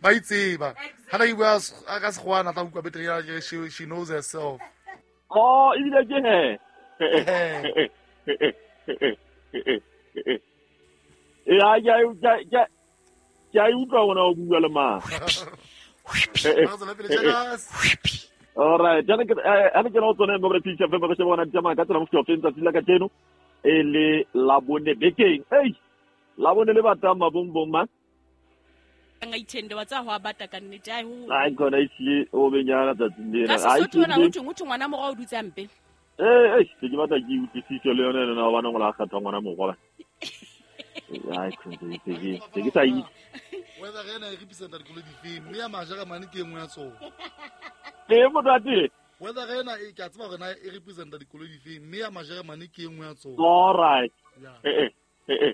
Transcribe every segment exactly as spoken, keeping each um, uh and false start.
Ba itseba. Ha na bua ka Sekgowa tla utlwa betere, she she knows herself. Oh, ebile ke he. Ya ya ya ke a utlwa ona o bua le mang. All right, jana ke ana ke no tsone mo re feature fe mo re bona tsamaya ka tsela mo feng tsatsi la kajeno e le la bone bekeng. Ei, la bone le batang mabong ma. Nga ithende wa tsa ho abata ka nnete ai ho. Ai khona ihle o benyana tsatsing lena. Ai ke tsona ho thwe ho ngwana morao o dutse mpe. Eh eh ke batla ke utlwisise le yona ena ba ngola kgatha ngwana morao. Ai khona ke ke ke sa itse. Whether re na e representa dikolo dife mme ya Majeremane ke engwe ya tsona. Eh motate. Whether re na e ke a tseba hore na e representa dikolo dife mme ya Majeremane ke engwe ya tsona. All right. Eh eh eh.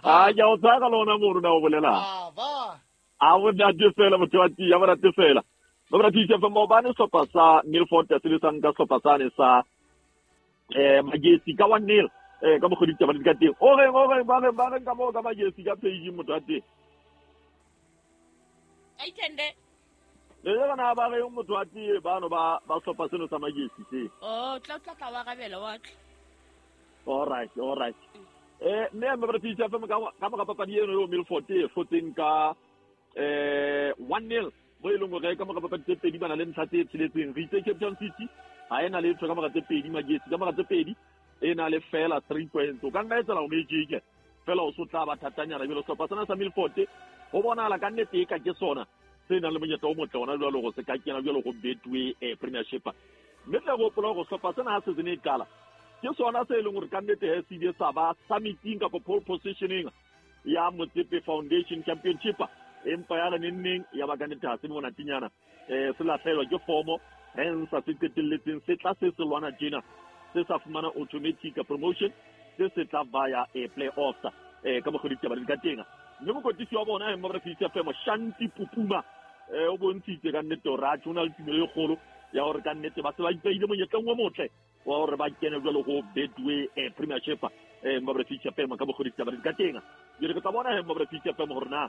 Ah ya o tsaka lona mo rona o bolela. Ba. A bonate fela motho wa tia bonate fela. Ba titse fa mo bane sehlopha sa Milford se le sang ka sehlopha sane sa eh Magesi ka one nil. Eh ka mokgodi taba di ka teng. O reng o reng ba reng ba reng ka mo ka Magesi ka page motho wa teng. Aitende. Le yona ba re motho wa teng ba no ba ba sehlopha seno sa Magesi se. Oh, tla tla tla wa rabela wa tla. All right, all right. Eh mme me re titse fa ka ka mo papadi eno yo Milford e fotseng ka eh one nil. Mo e leng hore ka mora papadi tse pedi ba na le ntlha tse tsheletseng. Re itse Cape Town City ha ena letho ka mora tse pedi, Magesi ka mora tse pedi e na le fela three points. O ka nna etsela o mejike fela o so tla ba thatanyana jalo. Sehlopha sena sa Milford ho bonahala ka nnete e ka ke sona se nang le monyetla o motle ona jwalo go se ka kena jwalo go Betway eh Premiership. Mme tla go hopola hore sehlopha sena ha se sene e qala ke sona se e leng hore ka nnete he se ile sa ba summiting kapa pole positioning ya Motsepe Foundation Championship. Empa ya re neng ya ba ka nnete ha se monatinyana eh se lahlelwa ke formo hence se qetelletseng se tla se se lwana tjena se sa fumana automatic promotion se se tla via a play-offs eh ka mokgwa ditaba di ka teng. Mme mokotisi wa bona mo re fitse femo Shanti Pupuma eh o bontshitse ka nnete hore a tshona le tumelo e kgolo ya hore ka nnete ba se ba ipeile monyetleng o motle wa hore ba kene jwalo go Betway eh Premiership eh mo re fitse femo ka mokgwa ditaba di ka teng. Jwale ke tla bona mo re fitse femo hore na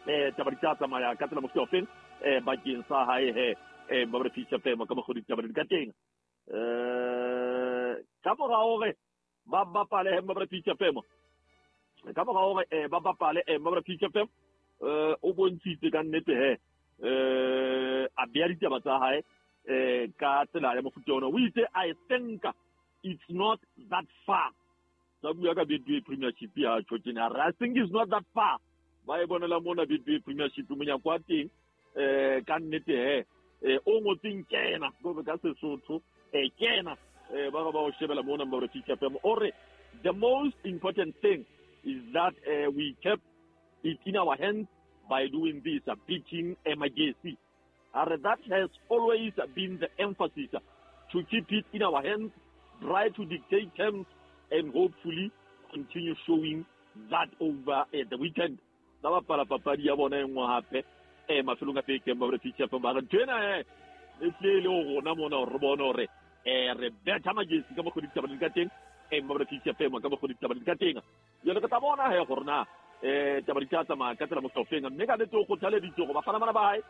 eh taba di tla tsamaya ka tsela mofuta ofeng eh bakeng sa hae he eh mo re fitse femo ka mokgwa ditaba di ka teng. Eh ka mora hore ba bapale mo re fitse femo ka mora hore eh ba bapale eh mo re fitse femo eh o bontshitse ka nnete he eh a bea ditaba tsa hae eh ka tsela ya mofuta ona. O itse I think it's not that far. Sa bua ka Betway Premiership ya tjhotjena. I think it's not that far. Ba e bonela mona Betway Premiership monyako wa teng eh ka nnete he eh o ngotseng kena go ka Sesotho eh kena eh ba ba o shebela mona ba re feature fm. O re the most important thing is that uh, we kept it in our hands by doing this, uh, beating Magesi. And that has always been the emphasis, uh, to keep it in our hands, try to dictate terms, and hopefully continue showing that over uh, the weekend. Ba bapala papadi ya bona e nngwe hape eh mafelong a bekeng ba re feature fm ba re ntwena eh e tlile le rona mona re bone hore eh re betha Magesi ka mokgwa ditaba di ka teng eh ba re feature fm ka mokgwa ditaba di ka teng. Jwale ke tla bona he gore na eh taba di tla tsamaya ka tsela mohlofeng. Mme ka nnete o kgothaleditse gore bafana bana ba hae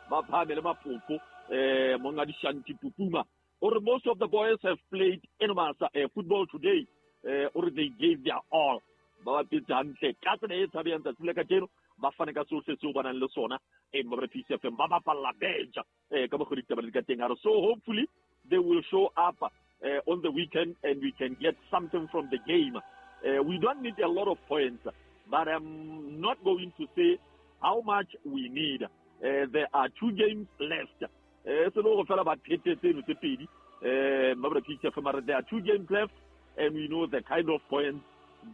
ba phahame le mapoko eh monga Shanti Pupuma. Or most of the boys have played enormous uh, football today. Eh or they gave their all. Ba bapetse hantle ka tsela e tshabehang tsatsi la kajeno ba fane ka sohle seo ba nang le sona eh ba re F M ba bapalla benja eh ka mokgwa ditaba di ka teng. So hopefully they will show up uh, on the weekend and we can get something from the game. Uh, we don't need a lot of points, but I'm not going to say how much we need. Uh, there are two games left. Eh se lo go fela ba phete tseno tse pedi eh ba re F M there are two games left and we know the kind of points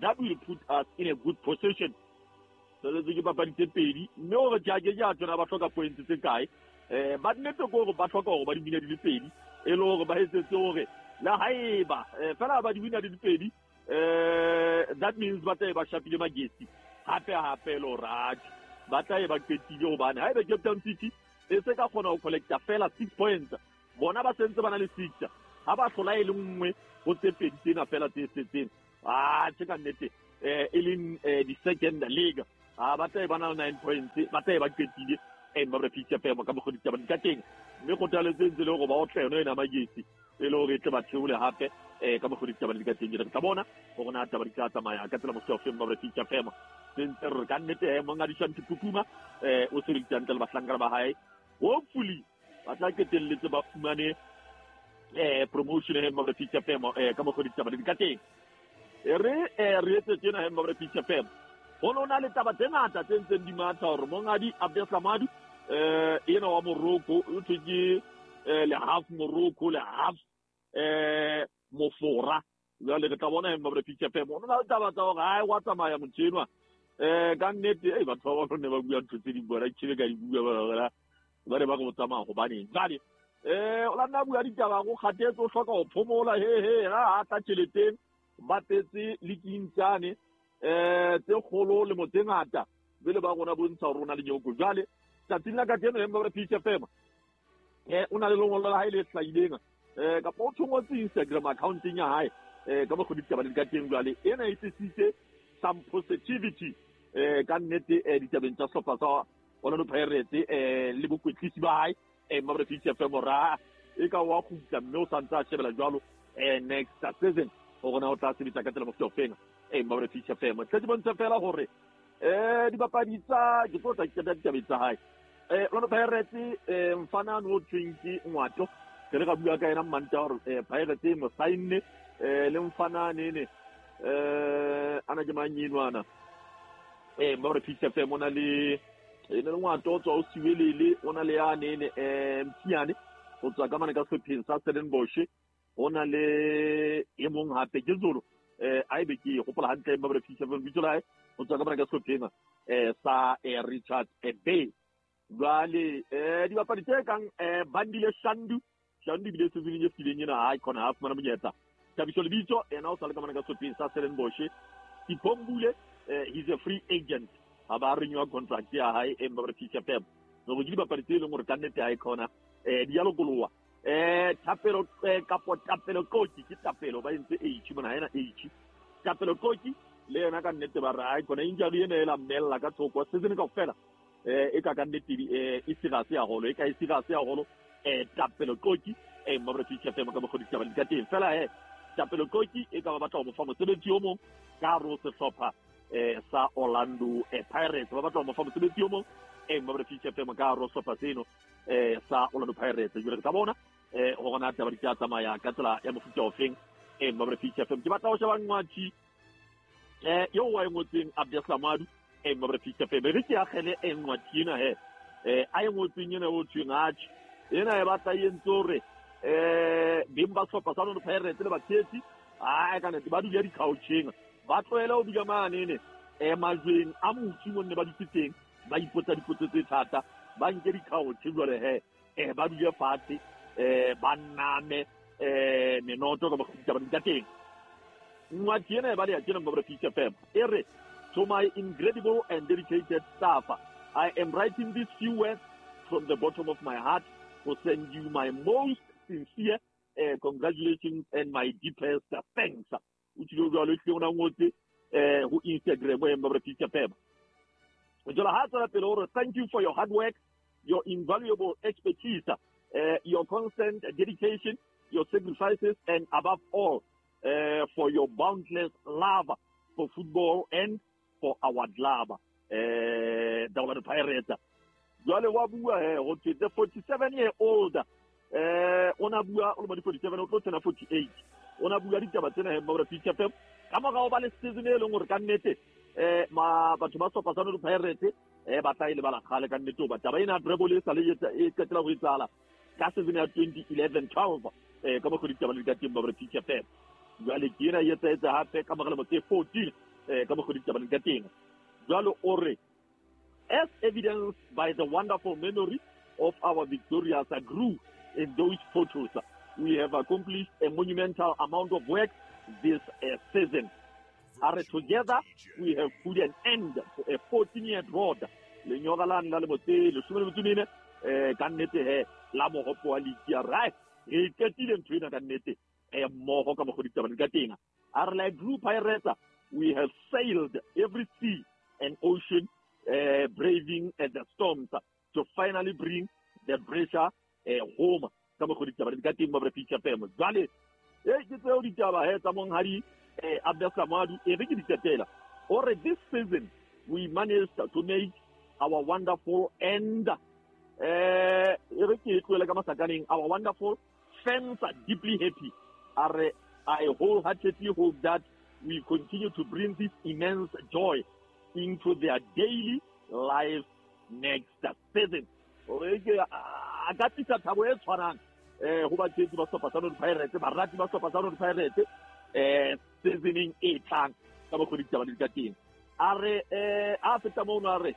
that will put us in a good position. So le ke papadi tse pedi mme o re jake ja tsona ba hloka points tse kae eh ba nnete go gore ba hloka gore ba di wina di le pedi e le hore ba etsetse hore le haeba fela ba di wina di le pedi eh that means ba tla ba shapile Magesi hape hape lo raj ba tla ba qetile hobane haeba Cape Town City e se ka kgona ho collecta fela six points bona ba sentse ba na le six ha ba hlola e le nngwe ho tse pedi tsena fela tse setseng ah tse ka nnete eh e leng di second league A ba tla e ba na le nine points, ba tla e ba qetile e mma re P F M ka mokgwa ditaba di ka teng. Mme kgothaletso e ntse le hore ba otle yona ena Magesi e le hore e tle ba theole hape eh ka mokgwa ditaba di ka teng. Re tla bona hore na taba di tla tsamaya ka tsela mofuta ofe mma re P F M. Se ntse re ka nnete eh monghadi Shanti Pukuma eh o sebeditse hantle le bahlankana ba hae. Hopefully ba tla qetelletse ba fumane eh promotion e mma re P F M eh ka mokgwa ditaba di ka teng. E re eh re etse tjena mma re P F M. Ho na le taba tse ngata tse ntseng di matha hore monghadi Abdeslamadu eh ena wa Morocco o thwe ke le half Morocco le half eh Mofora. Jwale re tla bona mma re P F M. Ho na le taba tsa hore hai wa tsamaya motho enwa eh ka nnete e batho ba ba ne ba bua ntho tse ding bona ke be ka di bua ba ba re ba go tsamaya hobaneng. Jwale eh o la nna bua ditaba go kgatetse o hloka ho phomola he he ha a tla tjheleteng ba tetse le kintsane eh tse kgolo le motse ngata bele ba rona bontsha hore rona le nyoko. Jwale tsatsing la kajeno mma re P F M eh o na le lengolo la hae le hlahileng eh kapa o thongotse Instagram account-eng ya hae eh ka mokgwa ditaba di ka teng. Jwale ena e tlisitse some positivity eh ka nnete eh ditabeng tsa sehlopha sa Orlando Pirates eh le bokwetlisi ba hae eh mma re P F M ra e ka wa kgutla mme o santse a shebela jwalo eh next season hore na o tla sebetsa ka tsela mofuta ofeng eh mma re P F M. Tle di bontsha fela hore eh dibapadi tsa ke tlo tla qeta ditabeng tsa hae eh Orlando Pirates eh mfana no thweng ke Ngwato ke re ka bua ka yena Mmanta hore eh Pirates e mo sign-ne eh le mfana nene eh ana ke mang enwana eh mma re P F M ona le e le Ngwato o tswa o Siwelele ona le ya nene eh Mthiane o tswa ka mane ka sepheng sa Stellenbosch ona le e mong hape ke Zulu eh a ebe ke gopola hantle mma re P F M bitso la hae o tswa ka mane ka sepheng eh sa Richard Bay. Jwale eh dibapadi tse kang eh Bandile Shandu Shandu bile season e fetileng ena ha khona ha fumana monyetla. Thabiso Lebitso ena o sale ka mane ka sepheng sa Stellenbosch. Iphombule eh he's a free agent ha ba renew contract ya hae e mma re P F M. No go dibapadi tse leng hore ka nnete ha e khona eh di ya lokoloha eh Thapelo kapo Thapelo Koki ke Thapelo ba entse H mona ha ena H Thapelo Koki le yena ka nnete ba re ha e khona injury ena e la mmella ka thoko season kaofela eh e ka ka nnete eh e serious haholo e ka e serious haholo eh Thapelo Koki eh mma re P F M ka mokgwa ditaba di ka teng fela he Thapelo Koki e ka ba batla ho mo fa mosebetsi o mong ka hare ho sehlopha eh sa Orlando eh Pirates ba batla ho mo fa mosebetsi o mong eh mma re P F M ka hare ho sehlopha seno eh sa Orlando Pirates. Jwale re tla bona eh hore na taba di tla tsamaya ka tsela ya mofuta ofeng eh mma re P F M. Ke batla ho sheba Ngwathi eh eo wa e ngotseng Abdeslamadu eh mma re P F M re ke akgele e Ngwathi ena he eh a e ngotseng ena o thweng atjhe ena e batla e entse hore eh beng ba sehlopha sa Orlando Pirates le batshehetsi a ka nnete ba dula di-coucheng ba tlohele ho dula mane eh majweng a motsi mo nne ba dutse teng ba ipotsa dipotso tse thata ba nke di-couch jwale he eh ba dule fatshe eh ba name eh menoto ka mokgwa ditaba di ka teng. Ngwathi ena e ba le ya tjena mma re P F M e re to my incredible and dedicated staff, I am writing these few words from the bottom of my heart to send you my most sincere uh, congratulations and my deepest thanks. O tshilo jwalo e ona ngotse eh ho Instagram e mma re P F M. Jwale ha tswela pele hore thank you for your hard work, your invaluable expertise, uh, your constant dedication, your sacrifices, and above all, uh, for your boundless love for football and for our club, uh, the Orlando Pirates. Jwale wa bua he ho thwe the forty-seven year old eh ona bua o le forty-seven o tlo tsena forty-eight ona bua ditaba tsena he mma re P F M ka morao ba le season e leng hore ka nnete eh ma batho ba sehlopha sa Orlando Pirates eh ba tla e lebala kgale ka nnete hoba taba ena treble e sa le e qetela ho etsahala ka season ya twenty eleven twelve eh ka mokgwa ditaba di ka teng ba re P F M. Jwale ke ena e etsa hape ka mora lemo tse fourteen eh ka mokgwa ditaba di ka teng. Jwale o re as evidenced by the wonderful memory of our victorious grew in those photos, we have accomplished a monumental amount of work this uh, season. Are together we have put an end to a fourteen-year drought. Lenyora la nna le motse leshome le metso e mene eh ka nnete he la mohopo wa league ya right re qetile ntho ena ka nnete eh mmoho ka mokgwa ditaba di ka teng. A re like Blue Pirates we have sailed every sea and ocean uh, braving uh, the storms to finally bring the pressure uh, home. Ka mokgwa ditaba di ka teng ba P H F M. Jwale e ke tseo ditaba he tsa monghadi eh Abdeslam Ouaddou, e re ke di qetela. Ore this season we managed to make our wonderful and eh e re ke tlohele ka masakaneng, our wonderful fans are deeply happy. Are I wholeheartedly hope that we continue to bring this immense joy into their daily life next season. Ore ke a ka tlisa thabo e tshwanang eh ho batshehetsi ba sehlopha sa Orlando Pirates, barati ba sehlopha sa Orlando Pirates eh seasoneng e tlang, ka mokgwa ditaba di ka teng. A re eh a feta mono, a re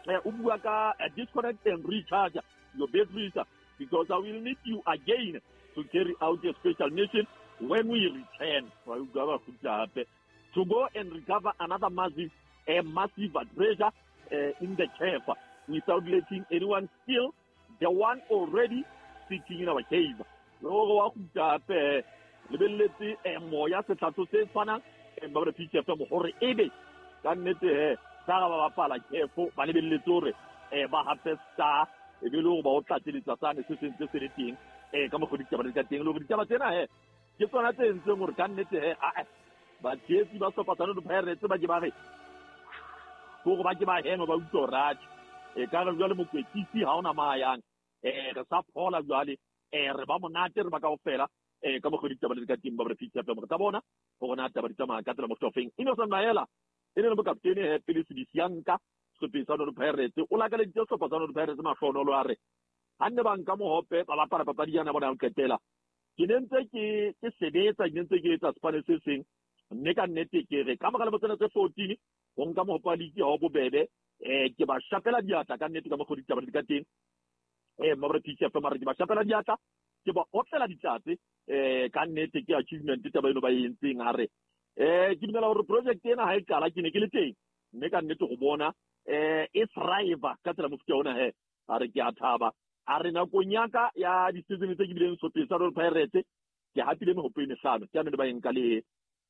eh o bua ka disconnect and recharge your batteries because I will need you again to carry out a special mission when we return. Wa utlwa ba kgutla hape to go and recover another massive a massive treasure uh, in the cave without letting anyone steal the one already sitting in our cave. Le gore wa kgutla hape lebelletse eh, moya setlhatso se tshwanang eh, ba re P H F M gore ebe ka nnete he sa ga ba bapala kefo ba lebelletse hore eh, ba hape star e be le gore ba o tlatseletsa sane se sentse se le teng eh, ka mokgwa ditaba di ka teng. Le gore ditaba tsena he ke tsona tse entseng gore ka nnete he ae batshehetsi ba sehlopha sa Orlando Pirates ba ke ba re gore ba ke ba hema ba utlwa rate e ka re jwale mokwetlisi ha ona mayang eh re sa phola jwale eh re ba monate re ba kaofela eh ka mokgwa ditaba di ka teng ba re P H F M. Re tla bona gore na taba di tsamaya ka tsela mohlofeng. Innocent Maela e ne le mokaptene he pele Sebisi ya nka sehlopeng sa Orlando Pirates, o lakaleditse sehlopha sa Orlando Pirates mahlonolo. A re ha nne ba nka mohope ba bapala papadi yana bona ya ho qetela, ke ne ntse ke ke sebetsa, ke ne ntse ke etsa sepane se seng, mme ka nnete ke re ka mora lemo tsena tse fourteen ho nka mohope wa league ha o bobebe. eh ke ba shapela diatla ka nnete ka mokgwa ditaba di ka teng eh mabra P H F M. Re ke ba shapela diatla, ke ba otlela ditlatse eh ka nnete ke achievement taba eno ba e entseng. A re eh ke dumela hore project ena ha e qala ke ne ke le teng, mme ka nnete go bona eh e thrive ka tsela mofuta ona he, a re ke a thaba. A re nakong ya ka ya di-season tse ke bileng sehlopeng sa Orlando Pirates ke hapile mehope e mehlano, ke ane ba e nka le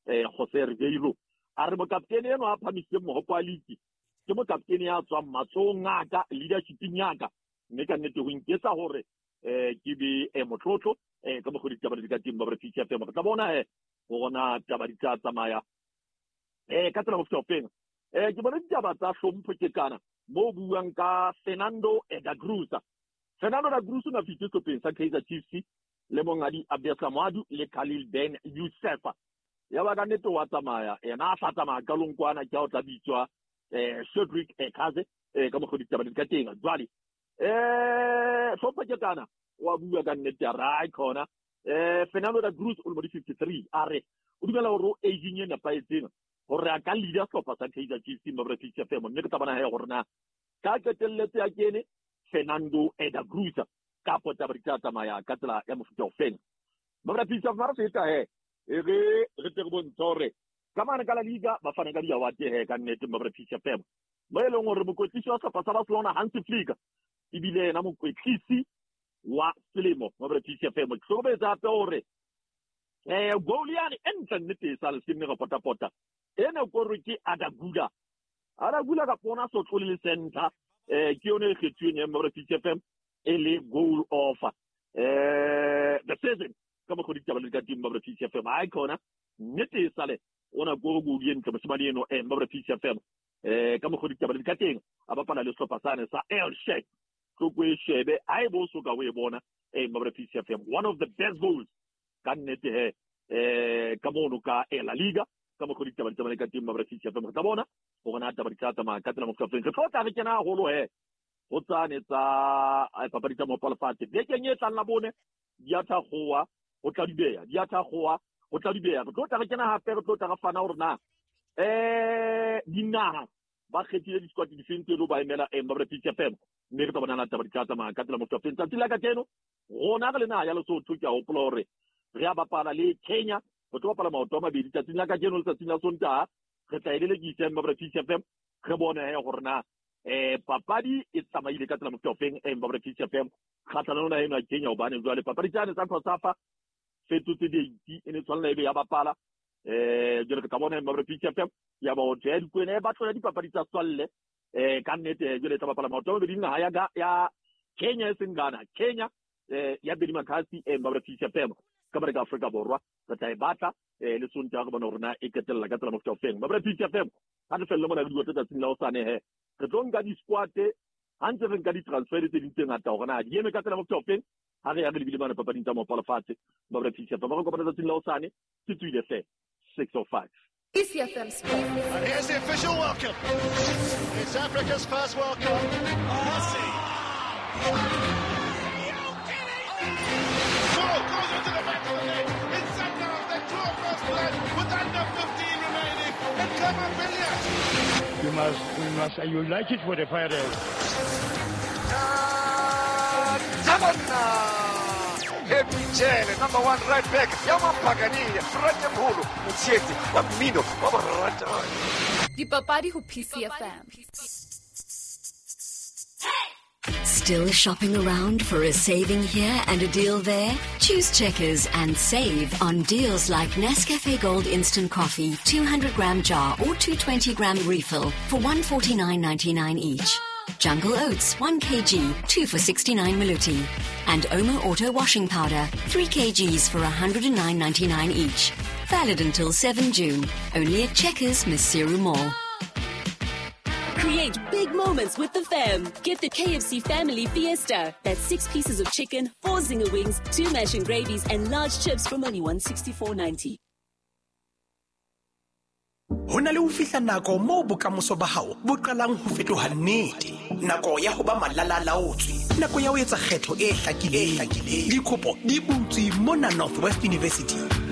eh Jose Riveiro. A re mokaptene eno a phamisitseng mohope wa league ke mokaptene ya tswang matsohong a ka, leadershipeng ya ka, mme ka nnete ho nketsa hore eh ke be eh motlotlo eh ka mokgwa ditaba di ka teng ba re P H F M. Re tla bona he gore na taba di tla tsamaya eh ka tsela mofuta ofeng. eh ke bona ditaba tsa hlompho ke kana mo buang ka Fernando da Cruz. Fernando da Cruz o na fihlile sehlopheng sa Kaizer Chiefs le monghadi Abdeslam Ouaddou le Khalil Ben Youssef, ya ba ka nnete wa tsamaya yena a sa tsamaya qalong kwana, ke ha o tla bitswa eh Cedric Kaze eh ka mokgwa ditaba di ka teng. Jwale eh hlompho ke kana wa bua ka nnete ra khona eh Fernando da Cruz o le mo di fifty-three, a re o dumela hore o aging e nepahetseng hore a ka leader sehlopha sa Kaizer Chiefs mo re P H F M, mme ke tla bona he gore na ka qetelletse ya kene Fernando da Cruz kapo taba di tla tsamaya ka tsela ya mofuta ofeng mo re P H F M. Re feta he e re re tle re bontsha hore ka mane ka La Liga ba fana ka di-award he ka nnete mo re P H F M, mo e leng hore mokwetlisi wa sehlopha sa Barcelona Hansi Flick ebile yena mokwetlisi wa selemo mo re P H F M. Ke hlokometse hape hore eh goal yane e ntle nnete e sa le senne re potapota ena kore ke Arda Güler. Arda Güler ka pona so tlole le center eh ke yone e kgethuweng ya mo re P H F M e le goal of eh the season ka mokgwa ditaba le ka teng mo re P H F M. Ai khona nnete e sale ona kore goal e ntle moshemane eno eh mo re P H F M eh ka mokgwa ditaba le ka teng a bapala le sehlopha sane sa Elche. Tloko e shebe ha e bo so ka o e bona eh mo re P H F M, one of the best goals ka nnete he eh ka mono ka La Liga ka mokgwa ditaba di tsamaya ka teng mo re P H F M. Re tla bona gore na taba di tla tsamaya ka tsela mofuta ofeng. Re tlo tla re kena haholo he ho tsane tsa papadi tsa mohope wa lefatshe bekeng e tlang la bone di a thakgowa ho tla dubeya, di a thakgowa ho tla dubeya. Re tlo tla re kena hape, re tlo tla re fana hore na eh dinaha ba kgethile di-squad difeng tse lo ba emela eh mo re P H F M, mme re tla bona na taba di tla tsamaya ka tsela mofuta ofeng. Tsatsi la kajeno rona re le naha ya Lesotho ke a hopola hore re a bapala le Kenya, re tlo bapala maoto a mabedi tsatsing la kajeno le tsatsing la Sontaha. Re tla e lelekisa mo re P H F M, re bone he gore na eh papadi e tsamaile ka tsela mofuta ofeng eh mo re P H F M kgatlhanong le eno ya Kenya, hobane jwale papadi tsane tsa COSAFA fetotse date e ne tshwanela ebe ya bapala eh jwale re tla bona mo re P H F M ya ba o tjhe dikwene ba tlola dipapadi tsa tswalle Eh ka nnete jwale tla bapala maoto a mabedi naha ya ya Kenya e seng Ghana. Kenya eh ya Bedi Makhasi eh Mabra P C F M ka bare ka Afrika Borwa re tla e batla eh le Sontaha re bona hore na e qetella ka tsela mofuta ofeng. Mabra P C F M ha re felle mona re dua tsatsing la hosane he re tlo nka di-squad ha ntse re nka di-transfer tse ding tse ngata hore na di eme ka tsela mofuta ofeng ha re ya re lebile mane papading tsa maoto a lefatshe. Mabra P C F M re kopana tsatsing la hosane ke tswile hle six oh five. P C F M Sports. And here's the official welcome. It's Africa's first World Cup. Messi. Are you kidding me? Goal goes into the back of the net. It's Sundowns that draw first blood with under fifteen remaining. And Clement Billiard. You must, you must, you like it for the Pirates. Happy Jele, number one right back. Yamampagani, Ratemholo, Motshetse, wa mmino, wa borata. Dipapadi ho P C F M. Still shopping around for a saving here and a deal there? Choose Checkers and save on deals like Nescafe Gold Instant Coffee, two hundred gram jar or two hundred twenty gram refill for one forty-nine ninety-nine each. Jungle Oats, one kilogram, two for sixty-nine maluti. And Omo Auto Washing Powder, three kilograms for one hundred nine ninety-nine each. Valid until seventh June. Only at Checkers, Maseru Mall. Create big moments with the fam. Get the K F C Family Fiesta. That's six pieces of chicken, four zinger wings, two mash and gravies, and large chips from only one sixty-four ninety. Ho na le ho fihla nako moo bokamoso ba hao bo qalang ho fetoha nnete. Nako ya ho ba malalalaotswe, nako ya ho etsa kgetho e hlakileng. Dikopo di butswe mona Northwest University.